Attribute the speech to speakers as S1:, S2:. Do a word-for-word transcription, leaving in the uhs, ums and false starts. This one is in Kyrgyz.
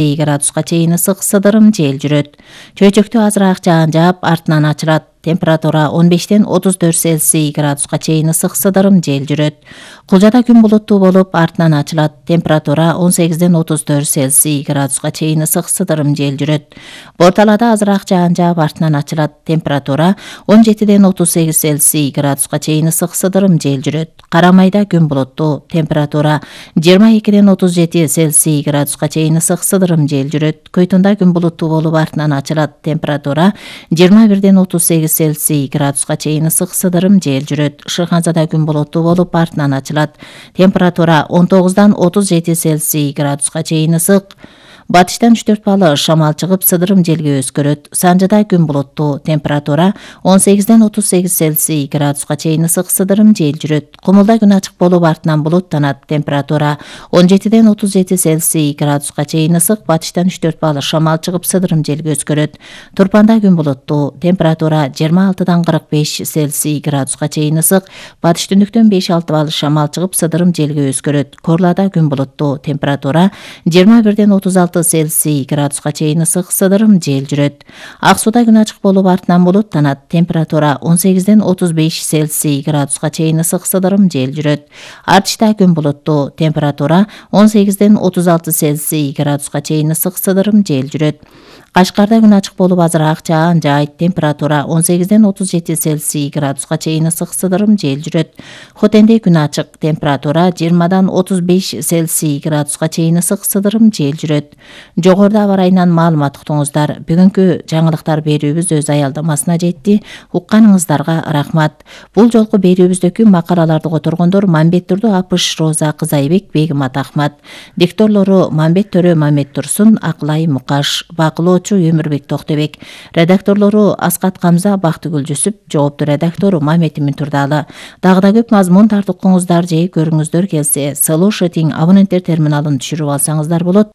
S1: градуска чейин ысык сыдырым жел жүрөт. Чөйчөктө азыраак жаан жаап, артынан ачылат. Температура он бештен отуз төрт Цельсий градуска чейин ысык сыдырым жел жүрөт. Кулжада күн булуттуу болуп, артынан ачылат. Температура он сегизден отуз төрт Цельсий градуска чейин ысык сыдырым жел жүрөт. Борталада азыраак жаан жаап, артынан ачылат. Температура он жетиден отуз сегиз Цельсий градуска чейин ысык сыдырым жел жүрөт. Карамайда күн булуттуу. Температура жыйырма экиден отуз жети Цельсий градуска чейин ысык сыдырым жел жүрөт. Көйтүндө күн булуттуу болуп, артынан ачылат. Температура жыйырма бирден отуз сегиз Цельсий градуска чейин ысык сыдырым жел жүрөт. Шыханзада күн булуттуу болуп, артынан ачылат. Температура он тогуздан отуз жети Цельсий градуска чейин ысык. Батыштан үч төрт балл шамал чыгып, сыдырым желге өзгөрөт. Санжада күн булуттуу. Температура он сегизден отуз сегиз Цельсий градуска чейин ысык сыдырым жел жүрөт. Кумулда күн ачык болуп, артынан булуттанат. Температура он жетиден отуз жети Цельсий градуска чейин ысык. Батыштан үч төрт балл шамал чыгып, сыдырым желге өзгөрөт. Турпанда күн булуттуу. Температура жыйырма алтыдан кырк беш Цельсий градуска чейин ысык. Батыш түндүктөн беш алты балл шамал чыгып, сыдырым желге өзгөрөт. Корлада күн булуттуу. Температура жыйырма бирден отуз алты Цельсий градуска чейин ысык сыдырым жел жүрөт. Ак сууда күн ачык болуп, артынан булуттанат. Температура он сегизден отуз беш Цельсий градуска чейин ысык сыдырым жел жүрөт. Артышта күн булуттуу. Температура он сегизден отуз алты Цельсий градуска чейин ысык сыдырым жел жүрөт. Кашкарда күн ачык болуп, азыраак жаан жаайт. Температура он сегизден отуз жети Цельсий градуска чейин ысык сыдырым жел жүрөт. Хотенде күн ачык. Температура жыйырмадан отуз беш Цельсий градуска чейин ысык сыдырым жел жүрөт. Жогоруда аба ырайынан маалымат уктуңуздар. Бүгүнкү жаңылыктар берүүбүз өз аялдамасына жетти. Укканыңыздарга рахмат. Бул жолку берүүбүздөгү макалаларды которгондор Мамбеттурду Апыш Роза Кызайбек, Бегимат Ахмат. Дикторлору Мамбет Төрө Мамет Турсун, Аклай Мукаш. Бакылоочу Өмүрбек Токтобек. Редакторлору Аскат Камза, Бактыгүл Жүсүп. Жоопту редактору Мамет Имин Турдалы. Дагы да көп мазмун тартып укуңуздар же көрүңүздөр келсе, Solution абоненттер терминалын түшүрүп алсаңыздар болот.